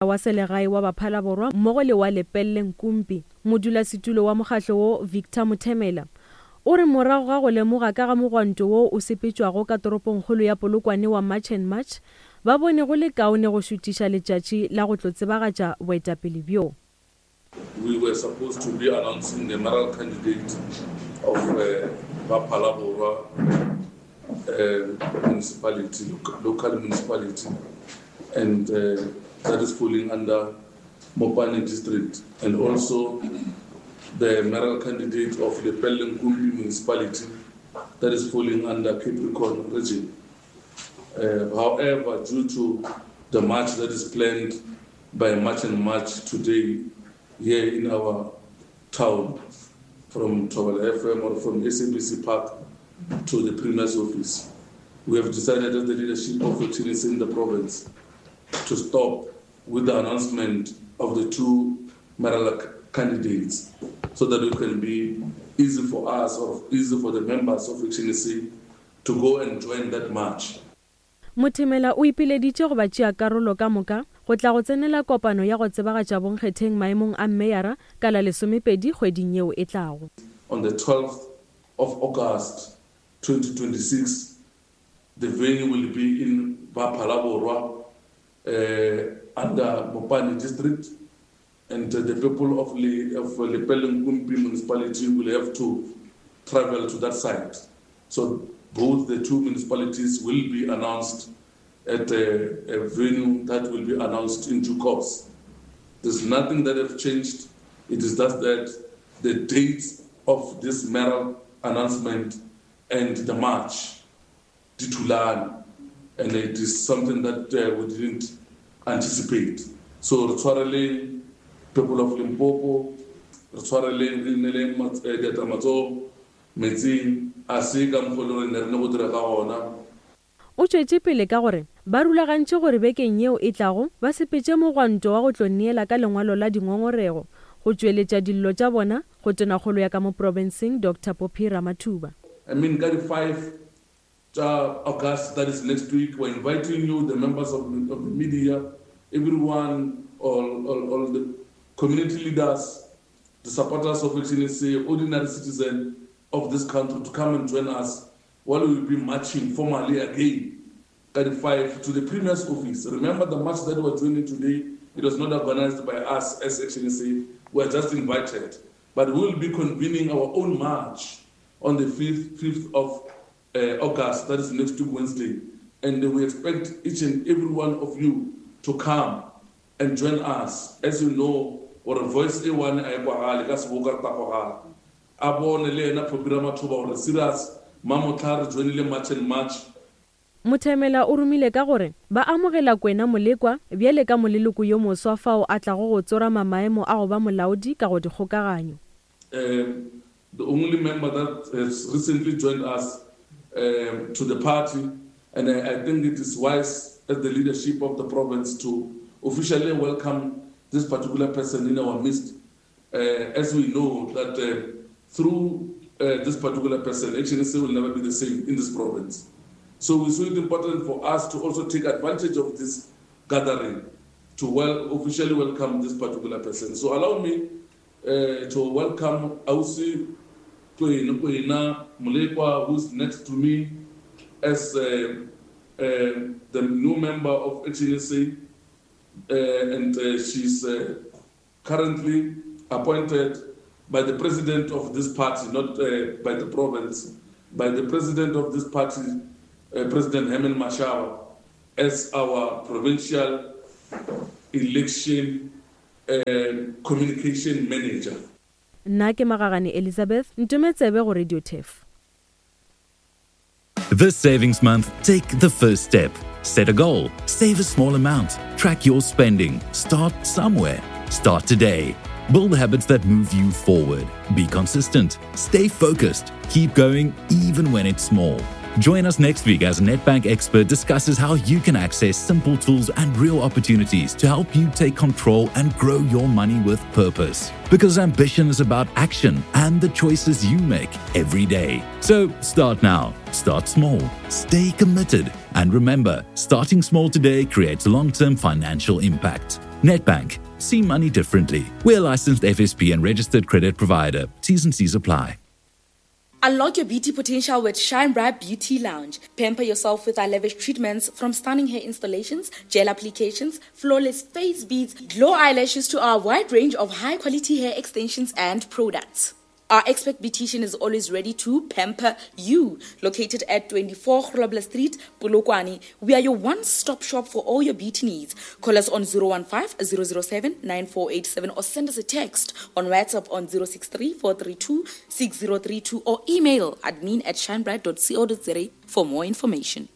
Wa Selegae wa Baphalaborwa mmogo le wa Lepelle Nkumpi. Modulasetulo wa mokgahlo wo, Victor Mothemela, o re morago ga go lemoga ka ga mogwanto wo o sepetšwago ka toropongkgolo ya Polokwane wa March and March, ba bone go le kaone go šutiša letšatši la go tlo tsebagatša boetapele bjo. We were supposed to be announcing the mayoral candidate of Ba-Phalaborwa municipality, local municipality, and that is falling under Mopani district, and also the mayoral candidate of Lepelle-Nkumpi municipality that is falling under Capricorn region. However, due to the march that is planned by March and March today here in our town, from Thobela FM or from SABC Park to the Premier's office, we have decided as the leadership of ActionSA in the province to stop with the announcement of the two mayoral candidates so that it can be easy for us or easy for the members of ActionSA to go and join that march. Mothemela o ipileditše go batšeakarolo ka moka go tla go tsenela kopano ya go tsebagatša bonkgetheng maemong a mmeyara ka la lesomepedi kgweding yeo e tlago. On the 12th of August 2026, the venue will be in Ba-Phalaborwa under Mopani District, and the people of of Lepelle-Nkumpi municipality will have to travel to that site. So both the two municipalities will be announced at a venue that will be announced in due course. There's nothing that have changed. It is just that the dates of this mayoral announcement and the march di thulane, and it is something that we didn't anticipate. So re tshwareleng people of Limpopo, re tshwareleng re ineleng diatla matsogo metsing, a se ka mokgwa e le gore ne re ne go dira ka gona. O tšwetše pele ka gore ba rulagantše gore bekeng yeo e tlago ba sepetše mogwanto wa go tlo neela ka lengwalo la dingongorego go tšweletša dillo tša bona go Tonakgolo ya ka mo profenseng Doctor Phophi Ramathuba. I mean ka di five tša August, that is next week, we're inviting you, the members of the, of the media, everyone, all, all, all the community leaders, the supporters of ActionSA, ordinary citizen of this country to come and join us while we will be marching formally again ka di five to the Premier's office. Remember the march that we are joining today, it was not organized by us as ActionSA, we are just invited. But we will be convening our own march on the 5th of August, that is next week Wednesday. And we expect each and every one of you to come and join us. As you know, gore voice e one a e kwagale, ka seboka re tla kwagala. A bone le yena Phophi Ramathuba gore serious, mamohla re joinile March and March. Mothemela o romile ka gore ba amogela Kwena Molekwa bjale ka moleloko yo moswa fao a tlago go tsorama maemo a go ba molaodi ka go dikgokaganyo. The only member that has recently joined us to the party, and I think it is wise as the leadership of the province to officially welcome this particular person in our midst, as we know that through this particular person, ActionSA will never be the same in this province. So we saw it important for us to also take advantage of this gathering to officially welcome this particular person. So allow me to welcome Ausi Kwena Molekwa, who's next to me as the new member of ActionSA, and she's currently appointed by the president of this party, not by the province, by the president of this party, President Herman Mashaba, as our provincial election communication manager. Nna ke Magagane Elizabeth, ntome tsebe go Radio Turf. This savings month, take the first step. Set a goal, save a small amount, track your spending, start somewhere. Start today. Build habits that move you forward. Be consistent, stay focused, keep going even when it's small. Join us next week as Nedbank expert discusses how you can access simple tools and real opportunities to help you take control and grow your money with purpose. Because ambition is about action and the choices you make every day. So start now, start small, stay committed, and remember starting small today creates long term financial impact. Nedbank, see money differently. We're a licensed FSP and registered credit provider. T's and C's apply. Unlock your beauty potential with Shine Bright Beauty Lounge. Pamper yourself with our lavish treatments from stunning hair installations, gel applications, flawless face beads, glow eyelashes to our wide range of high quality hair extensions and products. Our expert beautician is always ready to pamper you. Located at 24 Grobler Street, Polokwane, we are your one-stop shop for all your beauty needs. Call us on 015 007 9487 or send us a text on WhatsApp on 063 432 6032 or email admin at shinebright.co.za for more information.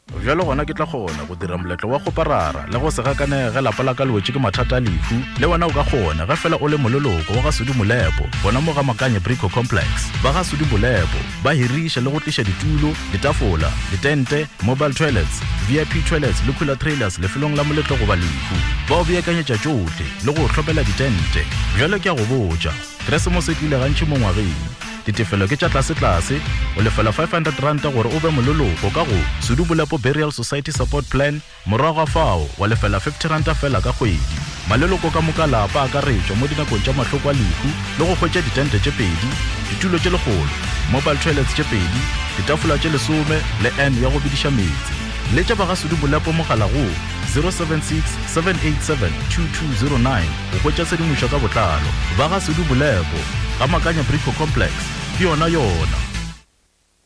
Bjalo gona ke tla kgona go dira moletlo wa kgoparara le go se gakanege ge lapa la ka le wetše ke mathata a lehu. Le wena o ka kgona ge fela o le moleloko wa ga Sudi Molepo gona mo ga Makanye Brico Complex. Ba ga Sudi Molepo ba hiriša le go tliša ditulo, ditafola, ditente, mobile toilets, VIP toilets le cooler trailers lefelong la moletlo goba lehu. Ba o beakanyetša tšohle le go o hlopela ditente. Bjalo ke a go botša, Keresemose e tlile gantši mo ngwageng. Ditefelo ke tša tlasetlase, o lefela R500 gore o be moleloko ka go Sudu Bolepo Burial Society Support Plan, morago ga fao wa lefela R50 feela ka kgwedi. Maleloko ka moka a lapa a akaretšwa mo dinakong tša mahloko a lehu le go hwetša ditente tše pedi, ditulo tše lekgolo, mobile toilets tše pedi, ditafola tše lesome le urn ya go bediša meetse. Letša ba ga Sudu Bolepo mogala go 076 787 2209 go hwetša tshedimošo ka botlalo. Ba ga Sudu Bolepo, ga Makanya Brico Complex, ke yona yona.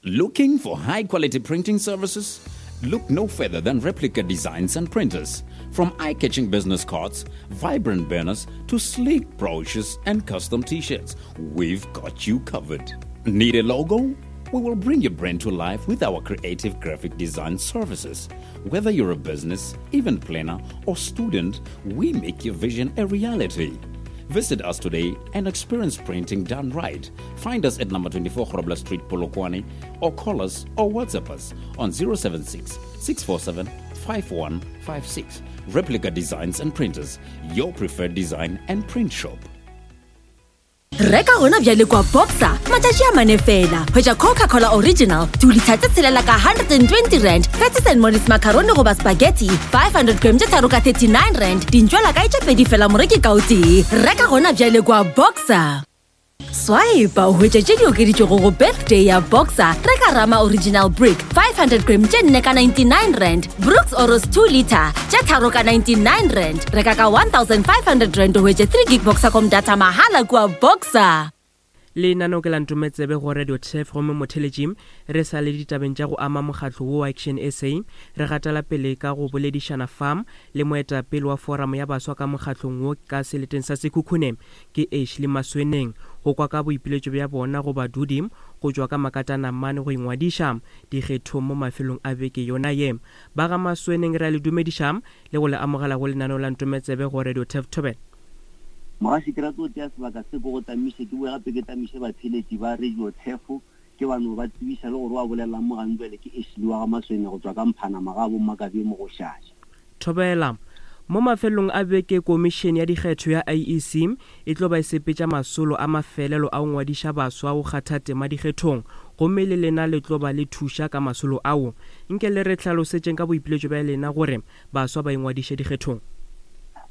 Looking for high quality printing services? Look no further than Replica Designs and Printers. From eye catching business cards, vibrant banners, to sleek brochures and custom t shirts, we've got you covered. Need a logo? We will bring your brand to life with our creative graphic design services. Whether you're a business, event planner, or student, we make your vision a reality. Visit us today and experience printing done right. Find us at number 24 Grobler Street, Polokwane, or call us or WhatsApp us on 076 647 5156. Replica Designs and Printers, your preferred design and print shop. Reka gona bjale kwa Boxer matšatši a mane fela. Hwetša Coca-Cola Original 2 litha tše tshelela ka 120 rand, Patties and Mollies macaroni goba spaghetti 500 gram tše tharo ka 39 rand, dintšwela kae tše pedi fela moreki ka o tee. Reka gona bjale kwa Boxer. Swipe o hwetše tše di okeditšwego go birthday ya Boxer. Reka Rama Original Brick 500 gram tše nne ka 99 rand, Brooks Oros 2 liter tše tharo ka 99 rand. Reka ka 1500 rand o hwetše 3 gig Boxercom data mahala kua Boxer. Lenaneo ke la Ntometsebe go Radio Turf gomme motheletši re sa le ditabeng tša go ama mokgatlo wo wa Action SA re gatela pele ka go boledišana fa le moetapele wa foramo ya baswa ka mokgatlong wo ka seleteng sa Sekhukhune ke Ashley Masweneng go kwa ka boipiletšo bja bona go badudi go tšwa ka Makatanamane go ingwadiša dikgethong mo mafelong a beke yona ye. Ba ga Masweneng re a le dumediša le go le amogela go lenaneo la Ntometsebe go Radio Turf Thobela. Mogaši, ke rata go tšea sebaka se ke go tamiše, ke boe gape ke tamiše batheeletši ba Radio Turf, ke ba no ba tsebiša le gore wa bolelang mo gantšwale ke Ashley wa ga Maswene go tšwa ka Mphanama ga Bommakabye mo go Šaša. Thobela. Mo mafelelong a beke Komišene ya Dikgetho ya IEC e tlo ba e sepetša masolo a mafelelo a go ngwadiša baswa go kgatha tema dikgethong gomme le lena le tlo ba le thuša ka masolo ao. Nke le re hlalosetšeng ka boipiletšo bja lena gore baswa ba ingwadiše dikgethong.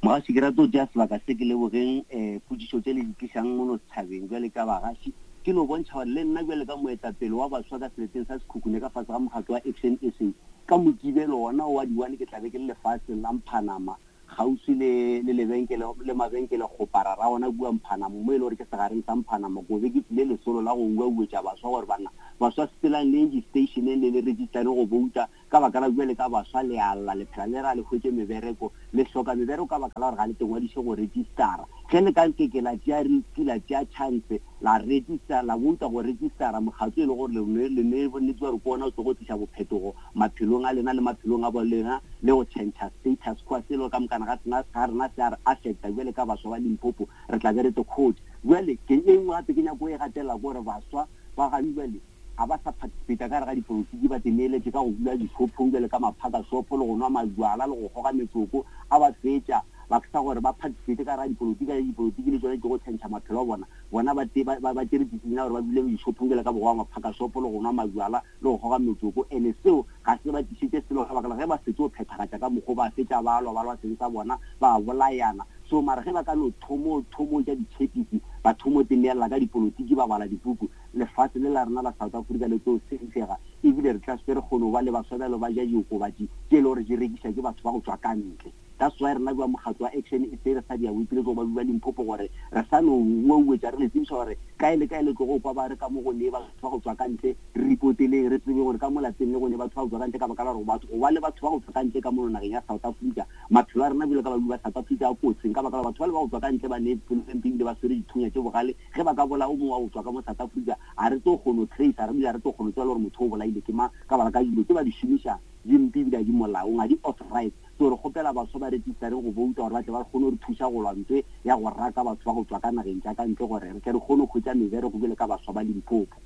Mogaši, ke rata go tšea sebaka se ke lebogeng potšišo tše le di tlišang mono setšhabeng bjale ka bagaši. Ke no bontšha gore le nna bjale ka moetapele wa baswa ka seleteng sa Sekhukhune ka fase ga mokgatlo wa Action SA, Ka Mokibelo wona wo wa di-one ke tla be ke le lefaseng la Mphanama, kgauswi le, le lebenkele, le mabenkele kgopara ra ona kua Mphanama, mo e le gore ke segareng sa Mphanama. Ko be ke tlile lesolo la go uauetša baswa gore, Banna, baswa sepelang le yeng di-stationeng le le registereng go bouta, ka baka la bjale ka baswa le a lla, le phela le re a le hwetše mebereko, le hloka mebereko ka baka la gore ga le tengwadiše go registera. Ge le ka nke ke la tšea riski, la tšea chance, la register, la bouta go registera mokgatlo e le gore le ne le ne bonnete gore ke ona o tlogo tliša bophetogo maphelong a lena le maphelong a bo lena le go tšhentšha status quo selo ka mokana ga sena ga rena se a re affecta bjale ka baswa ba Limpopo re tla be re te quote bjale ke e nngwe gape ke nyako e gatelela ke gore baswa ba ga bjale. ga ba sa participate ka gare ga dipolotiki, ba teneeletše ka go dula dishopong bjale ka maphaka shopo le go nwa majwala le go goga metsoko, a ba fetša ba sa gore ba participate ka gare ga dipolotiki, ka ge dipolotiki le tšona di tlogo tšhentšha maphelo a bona, bona ba te, ba, ba, ba tšere decision ya gore ba dule dishopong bjale ka bogowa maphaka shopo le go nwa majwala le go goga metsoko, ene seo ga se ba tlišetše selo ka baka la ge ba fetše go phethagatša ka mokgo ba fetša ba lwa, ba lwa seng sa bona, ba bolayana. So mara ge ba ka no thomo, thomo ja ditšhepisi, ba thomo teneelela ka dipolotiki, ba bala dipuku, lefase le la rena la South Africa le tlo safega, ebile re tla se re kgone go ba le baswa bjalo ba ja diokobatši tše e le gore di rekiša ke batho ba go tšwa ka ntle. That's why rena bja mokgatlo wa Action SA re sa dia boipiletšo go badudi ba Limpopo gore re sa no uauetša re le tsebiša gore kae le kae le tlogo kwa ba re ka mo go ne batho ba go tšwa ka ntle, re ripoteleng re tsebe gore ka mo lapeng le go ne batho ba go tšwa ka ntle ka baka la gore batho go ba le batho ba go tšwa ka ntle ka mono nageng ya South Africa maphelo a rena bjalo ka badudi ba South Africa a kotsing ka baka la gore batho bale ba go tšwa ka ntle ba ne pelo e mpe ebile ba swere dithunya tše bogale. Ge ba ka bolaya o mongwe wa go tšwa ka mo South Africa ga re tlo kgono tracer re bile ga re tlo kgono tseba le gore motho o bolaile ke mang ka baka ka dilo tše ba di šomiša di mpe ebile ga di molaong ga di authorized. So re kgopela baswa ba registereng go bouta gore ba tle ba kgone go re thuša go lwa ntwe ya go raka batho ba go tšwa ka nageng tša ka ntle gore re tle re kgone go hwetša mebereko bjalo ka baswa ba Limpopo.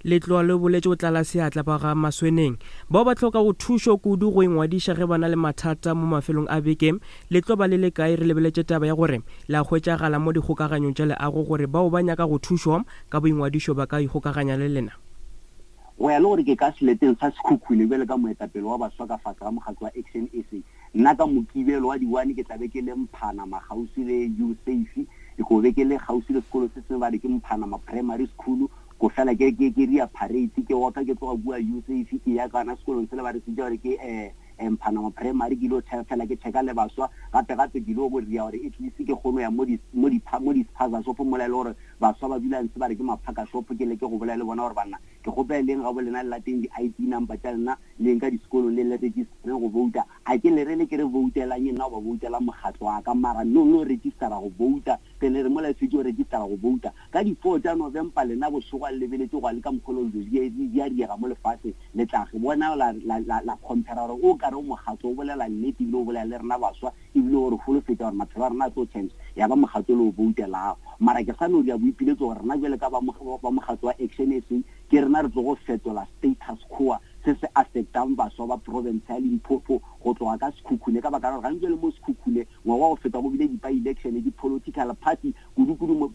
Letloa le boletše go tlala seatla ba ga Masweneng. Bao ba hlokago thušo kudu go ingwadiša ge ba na le mathata mo mafelong a beke, le tlo ba le le kae? Re lebeletše taba ya gore le a hwetšagala mo dikgokaganyong tša leago gore bao ba nyakago thušo ka boingwadišo ba ka ikgokaganya le lena. Go ya le gore ke ka seleteng sa Sekhukhune bjalo ka moetapele wa baswa ka fase ga mokgatlo wa Action SA, nna ka Mokibelo wa di-one ke tla be ke le Mphanama kgauswi le U-Safe, ke tlo be ke le kgauswi le sekolo se sengwe ba re ke Mphanama Primary School, Ko fela ke, ke, ke ria parade, ke oka ke tloga kua USAF, ke ya kana sekolong sela ba re se bitša gore ke eh, eh, Mphanama Primary, ke ilo fela ke checka le baswa, gape gape ke ilo go ria gore at least ke kgono ya mo di, mo di, mo di spaza shop mola e le gore baswa ba dula ntshe ba re ke maphaka shop, ke leke go bolela le bona gore banna ke kgopela leng gabo lena le lateng di ID number tša lena le yeng ka disekolong le le registereng go vouta, a ke le re le ke re voutelang nna goba voutelang mokgatlo wa ka, mara no no registera go vouta. Pele re mola e fetše go registara go bouta ka di four tša November, lena bošego a le lebeletše gwa le ka mokgwa o dilo di di a diega mo lefaseng, le tla re bona la la la la compare gore o kare o mokgatlo o bolela nnete ebile o bolela le rena baswa ebile o re holofetša gore maphelo a rena a tlo change, ya ba mokgatlo o le o boutelago. Mara ke sa no dira boipiletšo gore rena bjale ka ba ba mokgatlo wa Action SA ke rena re tlogo fetola status quo se se affectang baswa ba province ya Limpopo go tloga ka Sekhukhune ka baka la gore gantši bjale mo Sekhukhune Ngwaga wa go feta go bile di-by-election, di-political party, kudu-kudu mo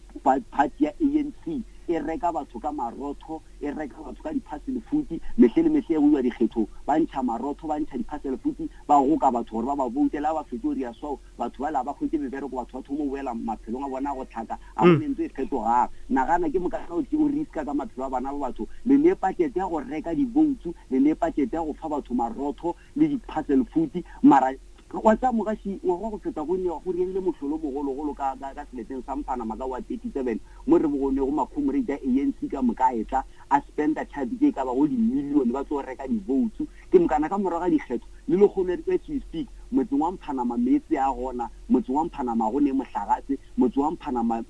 party ya ANC e reka batho ka marotho, e reka batho ka di-parcel food, mehle le mehle go iwa dikgethong ba ntšha marotho, ba ntšha di-parcel food, ba goka batho gore ba ba voutele, ga ba fetše go dira so, batho bale ga ba hwetše mebereko, batho ba thoma go boela maphelong a bona a go hlaka, ga go ne ntho e fetogang. Nagana ke mokana o o riska ka maphelo a bana ba batho, le ne budget ya go reka di-votes, le ne budget ya go fa batho marotho le di-parcel food, mara Wa tsa mogaši, ngwaga wa go feta go ne go riegile mohlolo o mogologolo ka, ka, ka seleteng sa Mphanama ka wa 37, mo re bogonego makhomorate a ANC ka moka a etla a spenda tšhabi tše e ka bago dimilione ba tlo reka divoutsu. Ke mokana ka morago ga dikgetho, le lehono as we speak, motseng wa Mphanama meetse a gona, motseng wa Mphanama go ne mohlagase, motse wa Mphanama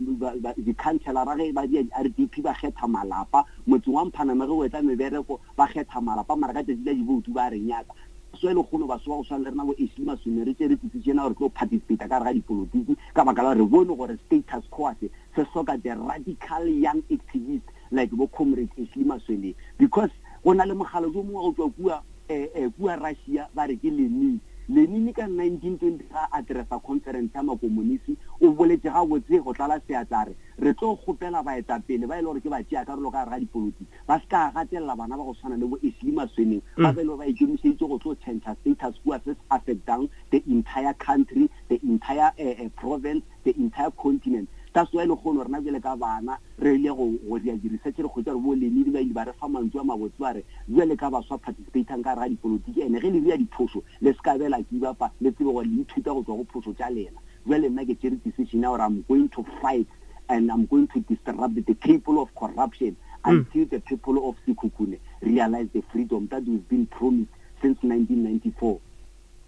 dikhanselara ge ba dia di-RDP ba kgetha malapa, motseng wa Mphanama ge go etla mebereko ba kgetha malapa, mara ka tšatši la divoutu ba re nyaka. So e lekgono baswa ba go swana le rena bo Ashley Masome re tšere tsitsi tšena gore tlo participate ka gare ga dipolotiki ka baka la gore re bone gore status quo se se hloka the radical young activist like bo Comrade Ashley Maswene because go na le mogala jo mongwe wa go tšwa kua eh, eh, kua Russia ba re ke Lenin. Lenin ka 1920 ga a addressa conference ya makomonisi o boletše gabotse go tlala seatla a re re tlo kgopela baetapele ba e le gore ke batšeakarolo ka gare ga dipolotiki Ba se ka gatelela bana ba go tshwana le bo Ashley Masweneng ba ba e le gore ba ikemišeditše go tlo tšhentšha status quo se se affectang the entire country, the entire province, the entire continent. That's why lehono rena bjale ka bana re ile go go dira di-research re hwetša gore bo Lenini ba ile ba re fa mantšu a mabotse ba re bjale ka baswa participatang ka gare ga dipolotiki ene ge le dira diphošo le se ka be la give up-a le tsebe gore le ithuta go tšwa go phošo tša lena. Bjale nna ke tšere decision ya gore I'm going to fight and I'm going to disrupt the cable of corruption until the people of Sekhukhune realize the freedom that we've been promised since 1994.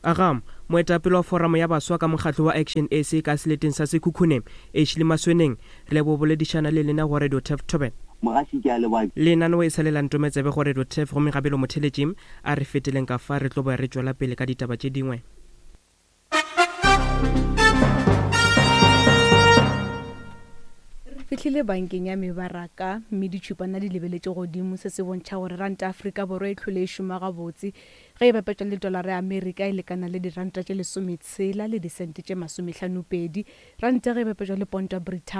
Aga, moetapele wa foramo ya baswa ka mokgatlo wa Action SA ka seleteng sa Sekhukhune, Ashley Masweneng, re leboga boledišana le lena go Radio Turf Thobela. Mogaši ke a leboga. Lenaneo e sa le la Ntometsebe go Radio Turf gomme gabelo motheletši a re feteleng ka fa re tlo boya re tšwela pele ka ditaba tše dingwe. Fihlile bankeng ya mebaraka mme ditšhupana di lebeletše godimo. Se se bontšha gore ranta ya Afrika Borwa e hlwele e šoma gabotse ge e bapetšwa le tolara ya Amerika e lekana le diranta tše lesometshela le disente tše masomehlanopedi. Ranta ge e bapetšwa le ponto ya Brithani.